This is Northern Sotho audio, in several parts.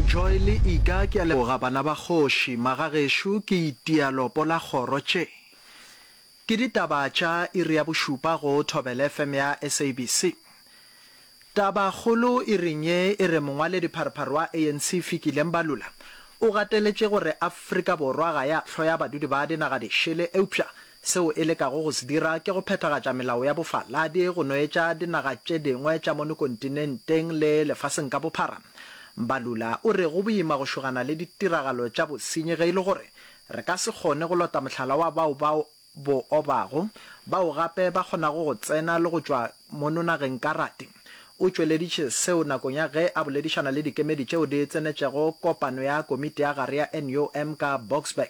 Joy le Ika ke a leboga bana ba kgoši. Magagešo ke itia lopo la kgoro tše. Ke ditaba tša iri ya bošupa go Thobela FM ya SABC. Tabakgolo iring ye e re mongwaledipharephare wa ANC Fikile Mbalula o gateletše gore Afrika Borwa ga ya hloya badudi ba dinaga dišele eupša seo e lekago go se dira ke go phethagatša melao ya bofaladi go noetša dinaga tše dingwe tša mono kontinenteng le lefaseng ka bophara. Mbalula o re go boima go šogana le ditiragalo tša bosenyi ge e le gore re ka se kgone go lota mohlala wa bao ba bo obago, bao gape ba kgonago go tsena le go tšwa mono nageng ka rate. O tšweleditše seo nakong ya ge a boledišana le dikemedi tšeo di tsenetšego kopano ya komiti ya gare ya NUM ka Boksburg.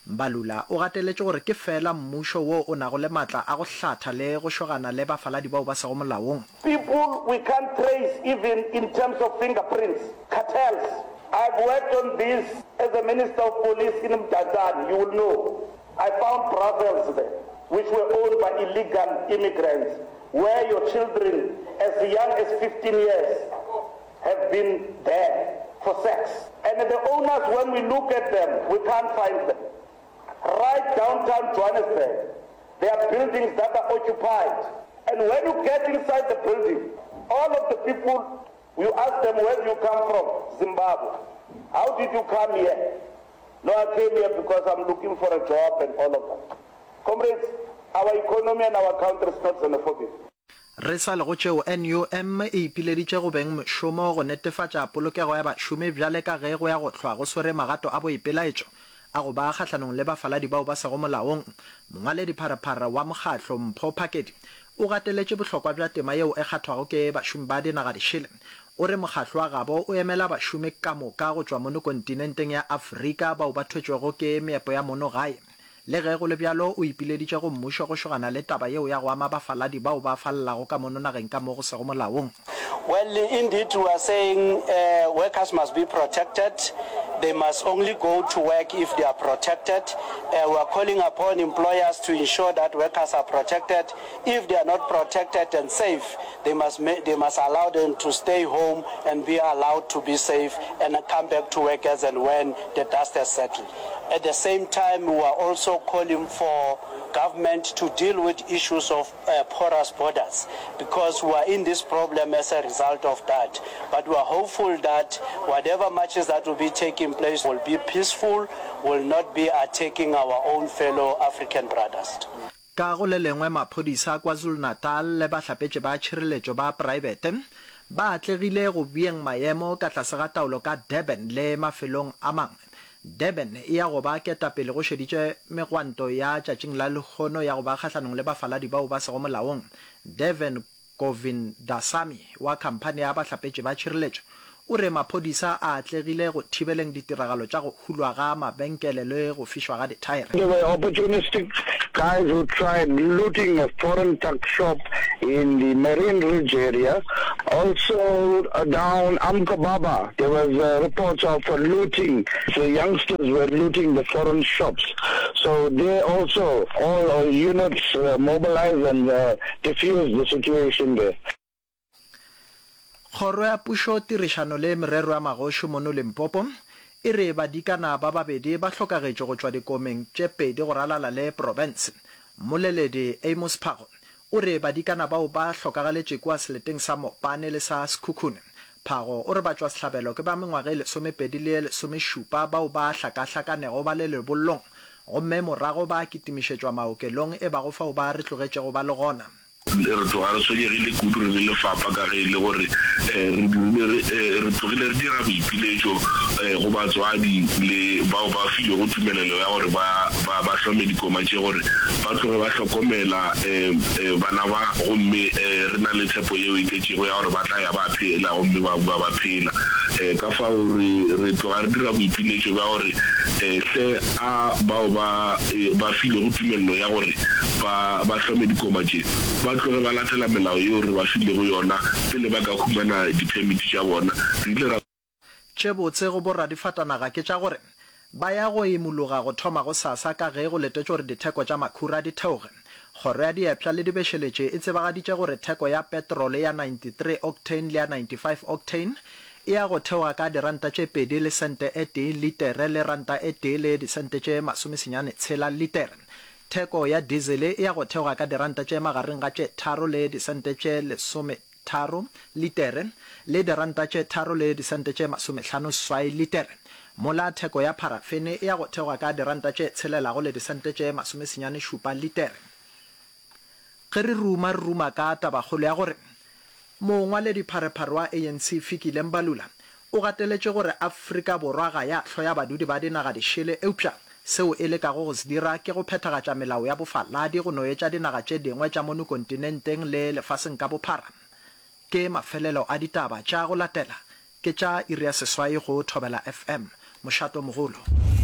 Mbalula o gateletše gore ke feela mmušo wo o nago le maatla a go hlatha le go šogana le bafaladi bao ba sego molaong. People we can't trace even in terms of fingerprints, cartels. I've worked on this as a minister of police in Mdantsane, you will know. I found brothels there which were owned by illegal immigrants where your children as young as 15 years have been there for sex. And the owners, when we look at them, we can't find them. Right downtown Johannesburg, there are buildings that are occupied. And when you get inside the building, all of the people, you ask them, where do you come from? Zimbabwe. How did you come here? No, I came here because I'm looking for a job and all of that. Comrades, our economy and our country is not xenophobic. Re sa le go tšeo, NUM e ipileditše go beng mošomo go netefatša polokego ya bašomi bjale ka ge go ya go hlwa go swere magato a boipelaetšo a go ba kgahlanong le bafaladi bao ba sego molaong. Mongwaledipharephare wa mokgatlo, Mpho Phakedi, o gateletše bohlokwa bja tema yeo e kgathwago ke bašomi ba dinagadišele. O re mokgatlo wa gabo o emela bašomi ka moka go tšwa mono kontinenteng ya Afrika bao ba thwetšwego ke meepo ya mono gae. Le ge go le bjalo, o ipileditše go mmušo go šogana le taba yeo ya go ama bafaladi bao ba falelago ka mono nageng ka mo go sego molaong. Well, indeed we are saying workers must be protected, they must only go to work if they are protected. We are calling upon employers to ensure that workers are protected. If they are not protected and safe, they must, they must allow them to stay home and be allowed to be safe and come back to work as and when the dust has settled. At the same time, we are also calling for government to deal with issues of uh, porous borders because we are in this problem as a result of that. But we are hopeful that whatever marches that will be taking place will be peaceful, will not be attacking our own fellow African brothers. Ka go le lengwe, maphodisa a KwaZulu-Natal le bahlapetši ba tšhireletšo ba praebete ba atlegile go beeng maemo ka tlase ga taolo ka Durban le mafelong a mangwe. Durban e ya go ba ketapele go šeditše megwanto ya tšatšing la lehono ya go ba kgahlanong le bafaladi bao ba sego molaong. Deven Govindasamy wa khamphani ya bahlapetši ba tšhireletšo o re maphodisa a atlegile go thibeleng ditiragalo tša go hulwa ga mabenkele le go fišwa ga dithaere. There were opportunistic guys who tried looting a foreign tuck shop in the Marine Ridge area. Also down Amkobaba there was reports of looting. The youngsters were looting the foreign shops. So there also all our units mobilized and defused the situation there. Kgoro ya Pušo, Tirišano le Merero ya Magoši mono Limpopo e re badikana ba babedi ba hlokagetše go tšwa dikomeng tše pedi go ralala le profense. Mmoleledi Amos Phago o re badikana bao ba hlokagaletše kua seleteng sa Mopane le sa Sekhukhune. Phago o re batšwasehlabelo ke ba mengwaga e lesomepedi le ye lesomešupa bao ba hlakahlakanego ba le lebollong gomme morago ba kitimišetšwa maokelong e bago fao ba re tlogetšego ba le gona. Re tloga re tshwenyegile kudu re le lefapha ka ge e le gore re dirile re tlogile re dira boipiletšo go batswadi le bao ba filwego tumelelo ya gore ba ba ba hlome dikoma tše gore ba tloge ba hlokomela bana ba gomme re na le tshepo yeo e tletšego ya gore ba tla ya ba phela gomme ba boa ba phela. Ka fao re re tloga re dira boipiletšo bja gore hle a bao ba ba filwego tumelelo ya gore ba ba hlome dikoma tše ba tloge ba latela melao yeo re ba filego yona pele ba ka humana diphemiti tša bona. Re ile ra. Tše botse go boradifatanaga ke tša gore ba ya go imologa go thoma gosasa ka ge go letetšwe gore ditheko tša makhura di theoge. Kgoro ya Diepša le Dibešeletše e tsebagaditše gore theko ya petrole ya 93 octane le ya 95 octane. e ya go theoga ka diranta tše pedi le sente e tee litere le ranta e tee le disente tše masomesenyane tshela litere. Theko ya dizele e ya go theoga ka diranta tše magareng ga tše tharo le disente tše lesometharo litere le diranta tše tharo le disente tše masomehlano swai litere, mola theko ya pharafene e ya go theoga ka diranta tše tshelelago le disente tše masomesenyane šupa litere. Ge re ruma, re ruma ka tabakgolo ya gore mongwaledipharephare wa ANC Fikile Mbalula o gateletše gore Afrika Borwa ga ya hloya badudi ba dinaga dišele eupša seo e lekago go se dira ke go phethagatša melao ya bofaladi go no etša dinaga tše dingwe tša mono kontinenteng le lefaseng ka bophara. Ke mafelelo a ditaba tša go latela ke tša iri ya seswai go Thobela FM, mošato mogolo.